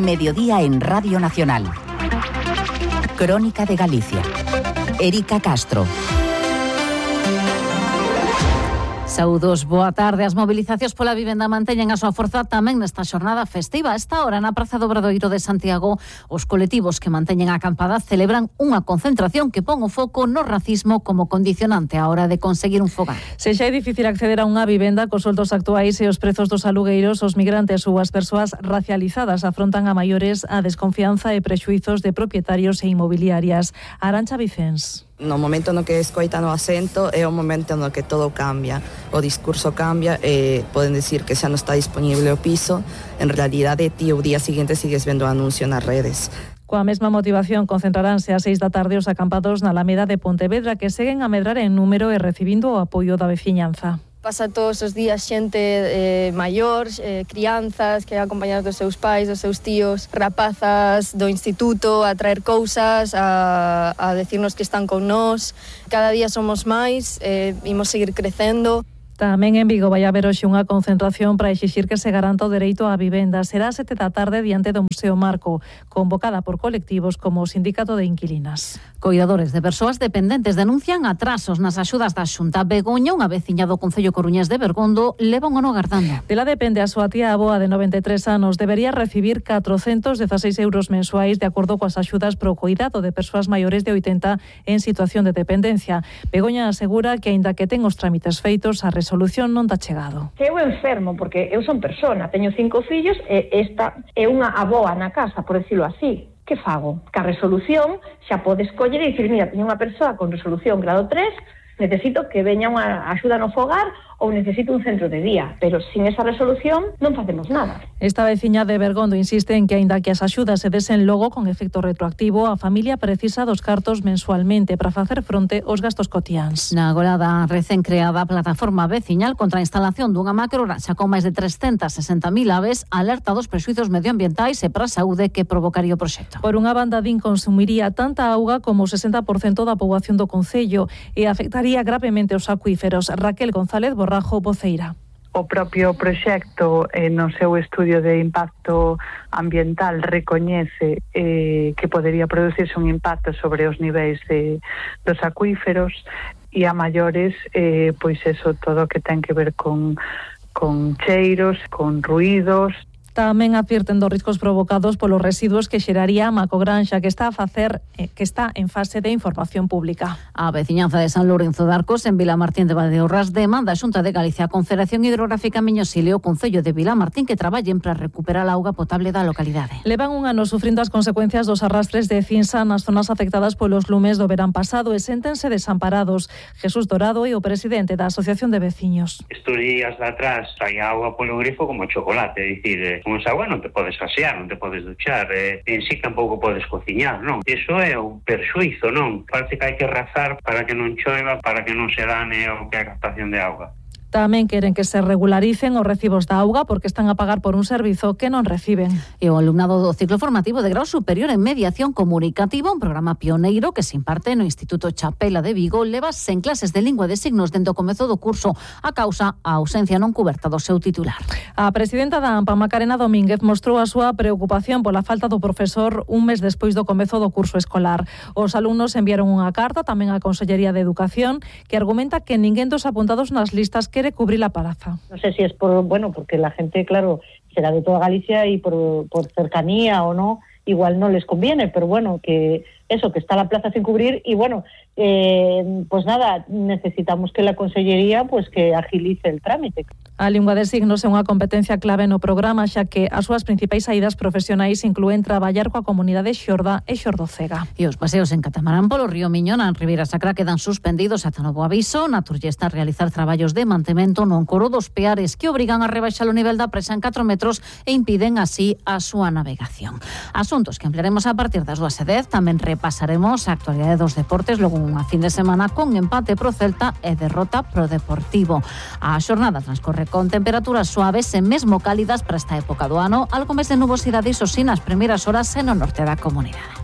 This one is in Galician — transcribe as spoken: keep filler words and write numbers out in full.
Mediodía en Radio Nacional. Crónica de Galicia. Erika Castro. Saúdos, boa tarde. As mobilizacións pola vivenda manteñen a súa forza tamén nesta xornada festiva. A esta hora, na Praza do Obradoiro de Santiago, os colectivos que manteñen a acampada celebran unha concentración que pon o foco no racismo como condicionante á hora de conseguir un fogar. Se xa é difícil acceder a unha vivenda cos soldos actuais e os prezos dos alugueiros, os migrantes ou as persoas racializadas afrontan a maiores a desconfianza e prexuizos de propietarios e inmobiliarias. Arantxa Vicens. No momento no que escoitan o acento é o momento no que todo cambia, o discurso cambia e poden decir que xa non está disponible o piso, en realidade ti o día seguinte sigues vendo o anuncio nas redes. Coa mesma motivación concentraránse ás seis da tarde os acampados na Alameda de Pontevedra, que seguen a medrar en número e recibindo o apoio da veciñanza. Pasa todos os días xente eh, maior, eh, crianzas que acompañadas dos seus pais, dos seus tíos, rapazas do instituto a traer cousas, a, a decirnos que están con nós. Cada día somos máis, eh, imos seguir crecendo. Tamén en Vigo vai haber hoxe unha concentración para exixir que se garanta o dereito á vivenda. Será a sete da tarde diante do Museo Marco, convocada por colectivos como o Sindicato de Inquilinas. Coidadores de persoas dependentes denuncian atrasos nas axudas da Xunta. Begoña, unha veciña do Concello coruñés de Bergondo, leva un ano agardando. Dela depende a súa tía avoa de noventa e tres anos. Debería recibir catrocentos dezaseis euros mensuais de acordo coas axudas pro coidado de persoas maiores de oitenta en situación de dependencia. Begoña asegura que, aínda que ten os trámites feitos, a resolución solución non tá chegado. Eu enfermo, porque eu son persona, teño cinco fillos e esta é unha avoa na casa, por decirlo así. Que fago? Que a resolución xa podes coller e dicir, mira, teño unha persoa con resolución grado tres, necesito que veña unha axuda no fogar ou necesito un centro de día, pero sin esa resolución non facemos nada. Esta veciña de Bergondo insiste en que, aínda que as axudas se desen logo con efecto retroactivo, a familia precisa dos cartos mensualmente para facer fronte aos gastos cotiáns. Na agorada recén creada plataforma veciñal contra a instalación dunha macrogranxa con máis de trescentas sesenta mil aves alerta dos prexuizos medioambientais e para a saúde que provocaría o proxecto. Por unha banda, din consumiría tanta auga como o sesenta por cento da poboación do concello e afectaría gravemente os acuíferos. Raquel González Borrajo, voceira. O propio proxecto, eh, no seu estudio de impacto ambiental, recoñece eh, que podería producirse un impacto sobre os niveis de, dos acuíferos e a maiores, eh, pois eso, todo o que ten que ver con, con cheiros, con ruídos. Tamén advirten dos riscos provocados polos residuos que xeraría a macrogranxa, que está a facer que está en fase de información pública. A veciñanza de San Lourenzo de Arcos, en Vilamartín de Valdeorras, demanda a Xunta de Galicia, a Confederación Hidrográfica Miño-Sil e o Concello de Vilamartín que traballen para recuperar a auga potable da localidade. Levan un ano sufrindo as consecuencias dos arrastres de cinza nas zonas afectadas polos lumes do verán pasado e séntense desamparados. Jesús Dorado é o presidente da Asociación de Veciños. Estos días de atrás saía auga polo grifo como chocolate, é dicir, con esa auga non te podes asear, non te podes duchar, eh, en sí tampouco podes cociñar, non? Iso é un perxuizo, non? Parece que hai que razar para que non choiva, para que non se dane o que é a captación de auga. Tamén queren que se regularicen os recibos da auga porque están a pagar por un servizo que non reciben. E o alumnado do ciclo formativo de grau superior en mediación comunicativa, un programa pioneiro que se imparte no Instituto Chapela de Vigo, leva sen clases de lingua de signos dende o comezo do curso a causa a ausencia non cuberta do seu titular. A presidenta da AMPA, Macarena Domínguez, mostrou a súa preocupación pola falta do profesor un mes despois do comezo do curso escolar. Os alumnos enviaron unha carta tamén á Consellería de Educación que argumenta que ninguén dos apuntados nas listas que quiere cubrir la plaza. No sé si es por, bueno, porque la gente, claro, será de toda Galicia y por, por cercanía o no, igual no les conviene, pero bueno, que eso, que está la plaza sin cubrir y bueno, eh, pues nada, necesitamos que la Consellería pues que agilice el trámite. A lingua de signos é unha competencia clave no programa, xa que as súas principais saídas profesionais inclúen traballar coa comunidade xorda e xordocega. E os paseos en catamarán polo río Miñón en Ribeira Sacra quedan suspendidos ata novo aviso. Naturlle está a realizar traballos de mantemento no encoro dos Peares que obrigan a rebaixar o nivel da presa en catro metros e impiden así a súa navegación. Asuntos que ampliaremos a partir das dúas e dez. Tamén repasaremos a actualidade dos deportes logo unha fin de semana con empate pro Celta e derrota pro Deportivo. A xornada transcorre con temperaturas suaves e mesmo cálidas para esta época do ano, algo máis de nubosidade iso sí nas primeiras horas e no norte da comunidade.